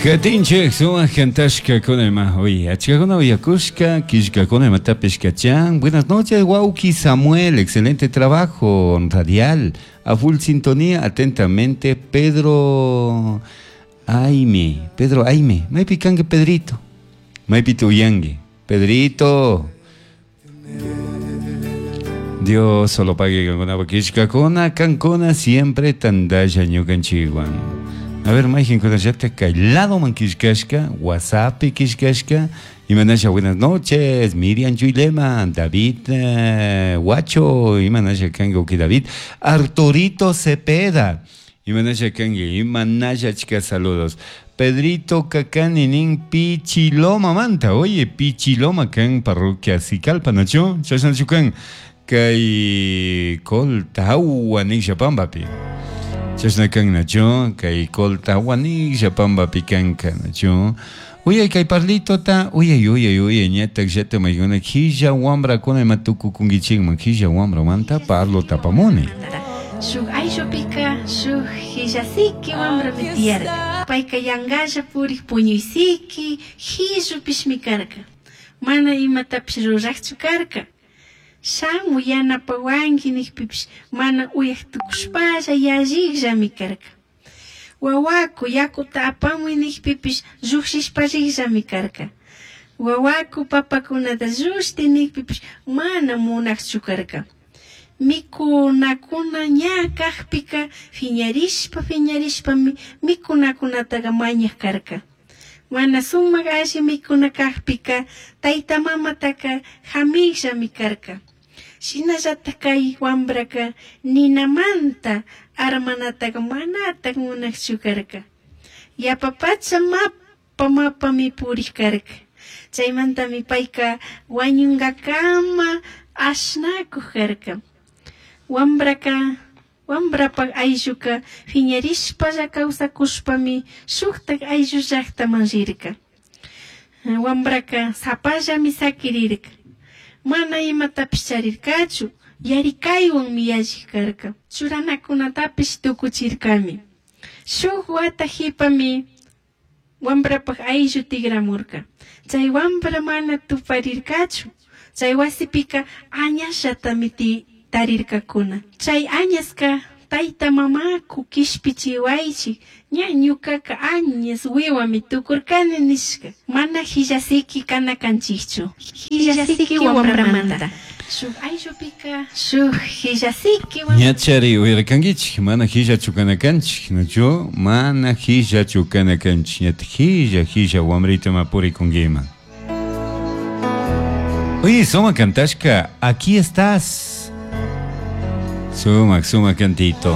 Katinchik sumak kantashkakuna ima uy achkakuna uyakushka killkakuna imatapish kachan. Buenas noches, wawki Samuel, excelente trabajo radial. A full sintonía, atentamente, Pedro Aime. Pedro Aime. Maypi kanki Pedrito. Maypi uyanki. Pedrito. Dios solo pague kankuna killkakuna kankuna siempre tandalla ñukanchikwan. A ver, mayqinkunallata kay ladoman killkashka, WhatsAppi killkashka. Imanasha, buenas noches, Miriam Chuilema, David Huacho, imanasha kanki, ok, David, Arturito Cepeda, imanasha kanki, imanasha achka saludos. Pedrito Cacani nin Pichiloma manta, oye, Pichiloma kan parroquia Sicalpa, nachu? Chashnachu kan kay Coltahua nisha pampapi. Chashna kan nachu, kay Coltahua nisha pampapi kanka nachu. Uyay kay parlitota, uyay uyay uyay ñatak llata maykuna qhilla wambrakuna ima tukukunkichikman qhilla wambramanta parlo tapamuni. Shuk ayllupika shuk hillasiki wambrami tiyarka. Payka yankalla purik puñuysiki hillupishmi karka. Mana imatapish rurakchu karka. Shamuy yanapawanki nikpipish mana uyak tukushpalla yallikllami karka. Wawaku yakuta apamuy nikpipish llukshishpa rikllami karka. Wawaku papakunata llushti nikpipish mana munakchu karka. Mikunakuna ña kakpika phiñarishpa phiñarishpami mikunakunataka mañak karka. Mana sumak alli mikuna kakpika tayta mamataka hamikllami karka. Shinallatak kay wambraka ninamanta armanataka manatak munakchu karka. Yapapacha mapa mapami purik karka. Chaymantami payka wañunkakama ashnakuk karka. Wambraka wambrapak aylluka phiñarishpalla kawsakushpami shuktak ayllu llaktaman rirka. Wambraka sapallami sakirirka. Mana imatapish charirkachu, yarikaywanmi yallik karka. Churanakunatapish tukuchirkami. Shuk wata qhipami wambrapak ayllu tikramurka. Chay wambra mana tuparirkachu. Chay wasipika añasllatami tarirkakuna. Chay añaska tayta mamaku kishpichiwaychik ña ñukaka añas wiwami tukurkani nishka. Mana hillasiki kana kanchikchu. Hillasiki wambramanta. Shuk ayllupika shuk hillasiki Ñachari uyarkankichik mana hillachu kana kanchik nachu mana hillachu kana kanchik ñata hilla hilla wambrito ma purikunkiman. Oye, suma kantashka, aquí estás. Sumak, sumak cantito.